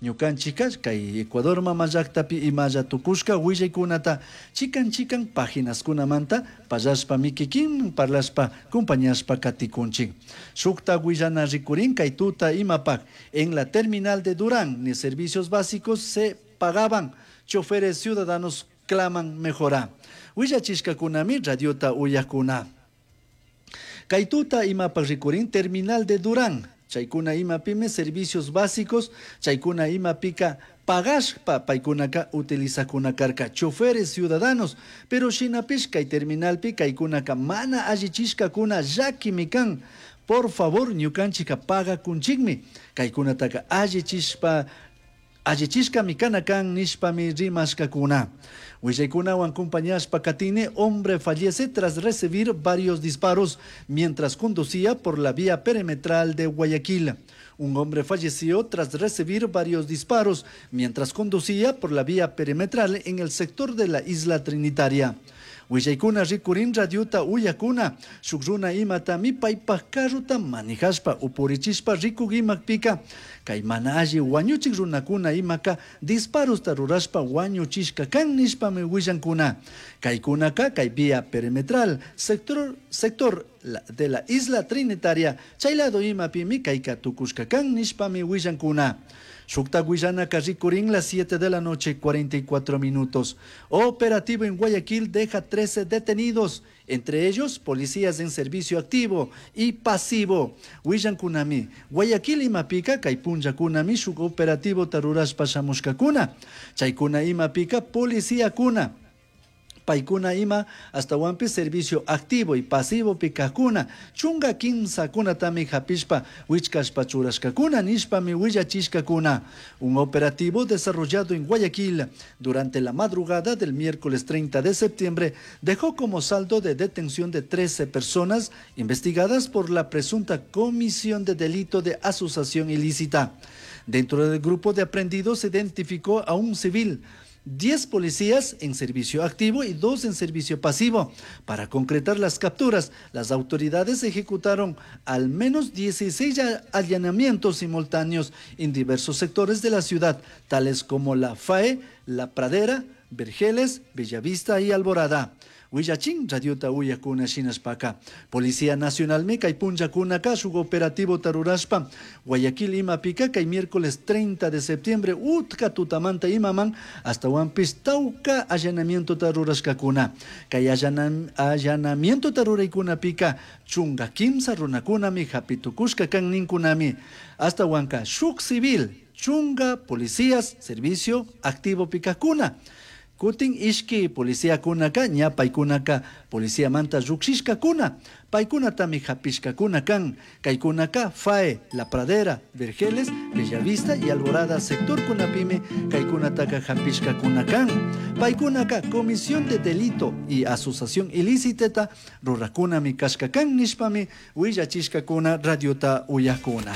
Ñukanchikka kay Ecuador mama llaktapi imalla tukushka willaykunata chikan chikan paginaskunamanta pallashpami kikin parlashpa compañashpa katikunchik. Shukta willana rikurin kay tuta imapak en la terminal de Durán ni servicios básicos se pagaban. Choferes ciudadanos claman mejora. Willachishkakunami radiota uyakuna. Kay tuta imapak rikurin terminal de Durán. Chaykuna imapimi servicios básicos, chaykuna imapika pagashpa paykunaka utilizakuna karka choferes ciudadanos, pero shinapish kay terminalpi kaykunaka mana allichishkakuna llakimi kan. Por favor, ñukanchika pagakunchikmi. Kaykunataka allichishpa allichishkami kana kan nishpami rimashkakuna. Willaykunawan compañashpa katini, hombre fallece tras recibir varios disparos mientras conducía por la vía perimetral de Guayaquil. Un hombre falleció tras recibir varios disparos mientras conducía por la vía perimetral en el sector de la isla Trinitaria. Willaykuna rikurin radiota uyakuna, shuk runa imatami paypak carrota manejashpa upurichishpa rikuk imakpika, kay mana alli wañuchik runakuna imaka disparosta rurashpa wañuchishka kan nishpami willankuna. Kaykunaka kay vía perimetral sector de la isla Trinitaria, chay lado imapimi kayka tukushka kan nishpami willankuna. Shukta willanaka rikurin las 7 de la noche, 44 minutos. Operativo en Guayaquil deja 13 detenidos, entre ellos policías en servicio activo y pasivo. Willankunami, Guayaquil imapika, kay punllakunami shuk operativo tarurashpa shamushkakuna. Chaykuna imapika policíakuna. Paykuna ima astawanpi servicio activo y pasivo pikakuna chunga kimsakunatami hapishpa wichkashpa churashkakuna nishpami willachishkakuna. Un operativo desarrollado en Guayaquil durante la madrugada del miércoles 30 de septiembre dejó como saldo de detención de 13 personas investigadas por la presunta comisión de delito de asociación ilícita. Dentro del grupo de aprehendidos se identificó a un civil, 10 policías en servicio activo y 2 en servicio pasivo. Para concretar las capturas, las autoridades ejecutaron al menos 16 allanamientos simultáneos en diversos sectores de la ciudad, tales como la FAE, La Pradera, Vergeles, Bellavista y Alborada. Willachin radiota uyakuna shinashpaka. Policía Nacional kay punllakunaka shuk operativo tarurashpa Guayaquil imapika kay miércoles 30 de septiembre utka tutamanta imaman astawanpis tawka allanamiento tarurashkakuna. Kay allanamiento taruraykunapika chunga kimsa runakunami hapitukushka kan ninkunami. Astawanka shuk civil chunga policías servicio activo pikakuna. Kutin ishki policía kunaka ña paykunaka policía manta llukshishkakuna paykunatami hapishkakuna kan kaykunaka FAE, La Pradera, Vergeles, Bellavista y Alborada sector kunapimi kaykunataka hapishkakuna kan paykunaka comisión de delito y asociación ilícita rurakunami kashka kan nishpami willachishkakuna radiota uyakuna.